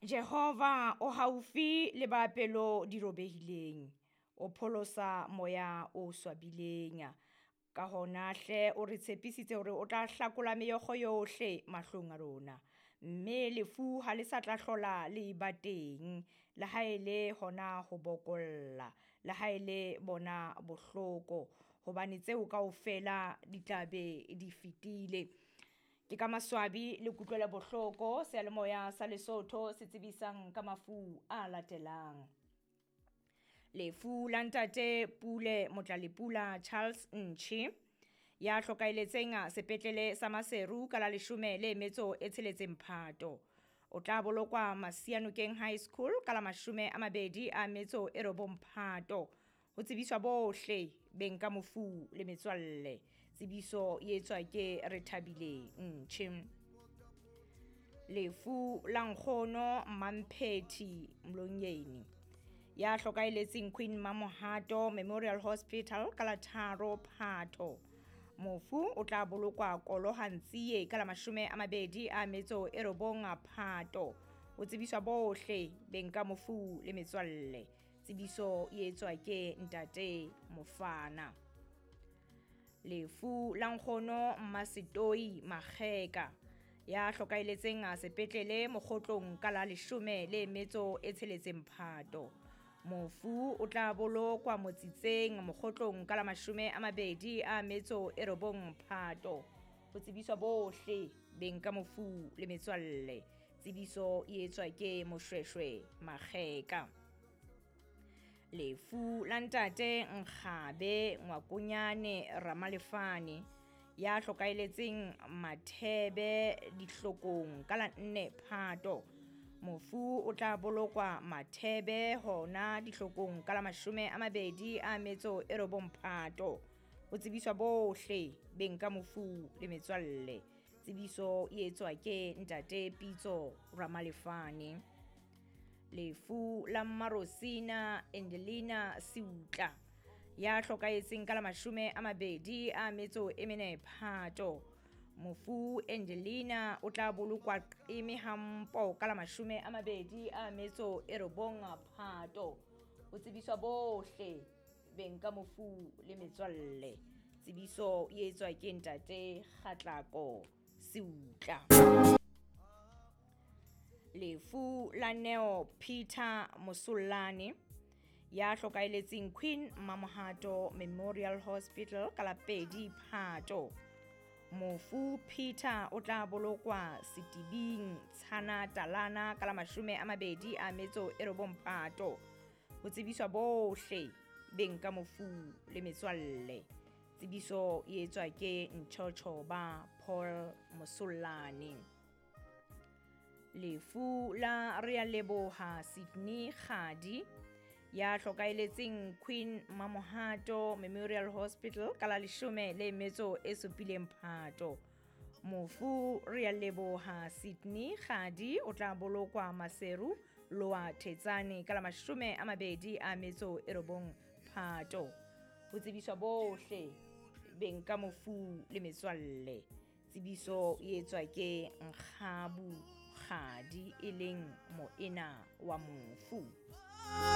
Jehova o haufi le ba pelo di robehileng, o pholosa moya o swabileng. Ka hona hle o re tshepisitse hore o tla hlakola meokgo yohle mahlong a rona, mme lefu ha le sa tla hlola le ba teng, le ha e le hona ho bokolla, le ha e le bona bohloko, hobane tseo kaofela di tla be di fetile. Ke ka maswabi le kutlwelo bohloko seyalemoya sa Lesotho se tsebisang ka mafu a latelang. Lefu la ntate Pule Motlalepula Charles Ntšhi ya hlokaeletseng sepetlele sa Maseru ka la leshome le metso e tsheletseng Phato. O tla bolokwa Masianokeng High School ka la 29 Phato. Ho tsebiswa bohle beng ka mofu le metswalle. Tsebiso e etswa ke Rethabile Ntšhi. Lefu la nkgono Mamphethi Mlonyeni ya hlokaeletseng Queen Mamohato Memorial Hospital ka la 3 Phato. Mofu o tla bolokwa Kolohantsie ka la 29 Phato. O tsebiswa bohle beng ka mofu le metswalle. Tsebiso e etswa ke ntate Mofana. Lefu la nkgono Mmasetoi Makgeka ya hlokaeletseng sepetlele Mokgotlong ka la 16 Phato. Mofu o tla bolokwa Motsitseng Mokgotlong ka la 29 Phato. Ho tsebiswa bohle beng ka mofu le metswalle. Tsebiso e etswa ke Moshweshwe Makgeka. Lefu la ntate Nkgabe Ngwakonyane Ramalefane ya hlokaeletseng Mathebe Dihlokong ka la 4 Phato. Mofu o tla bolokwa Mathebe hona Dihlokong ka la 29 Phato. Ho tsebiswa bohle beng ka mofu le metswalle. Tsebiso e etswa ke ntate Pitso Ramalefane. Lefu la Mmarosina Angelina Seutla ya hlokaetseng ka la 24 Phato. Mofu Angelina o tla bolokwa Qeme Hampo ka la 29 Phato. Ho tsebiswa bohle beng ka mofu le metswalle. Tsebiso e etswa ke ntate Kgatlako Seutla. Lefu la Neo Peter Mosollane ya hlokaeletseng Queen Mamohato Memorial Hospital ka la 2 Phato. Mofu Peter o tla bolokwa Setibing Tshana Talana ka la 29 Phato. Ho tsebiswa bohle beng ka mofu le metswalle. Tsebiso e etswa ke Nchochoba Paul Mosollane. Lefu la Realeboha Sydney Kgadi ya hlokaeletseng Queen Mamohato Memorial Hospital ka la 17 Phato. Mofu Realeboha Sydney Kgadi o tla bolokwa Maseru Loa Thetsane ka la 29 Phato. Ho tsebiswa bohle beng ka mofu le metswalle. Tsebiso e etswa ke Nkgabu Kgadi e leng moena wa mofu.